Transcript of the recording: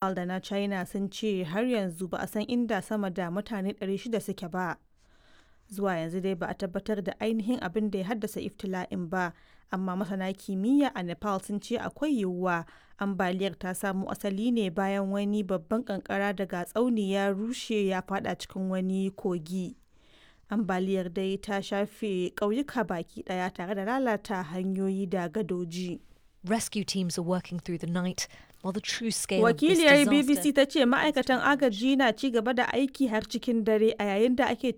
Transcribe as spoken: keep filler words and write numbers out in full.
Da na China sun ce har yanzu ba a san inda sama da mutane ɗari shida suke ba. Zuwa yanzu dai ba a tabbatar da ainihin abin da ya haddasa ibtila'in ba, amma masana kimiyya a Nepal sun ce akwai yiwuwa ambaliyar ta samo asali ne bayan wani babban kankara daga tsauni ya rushe ya fada cikin wani kogi. Ambaliyar dai ta shafe ƙauyuka baki ɗaya tare da lalata hanyoyi da gadoji. Rescue teams are working through the night while the true scale of this Wakiliyar disaster B B C ta ce ma'aikatan agaji na ci gaba da aiki har cikin dare a yayin da ake ci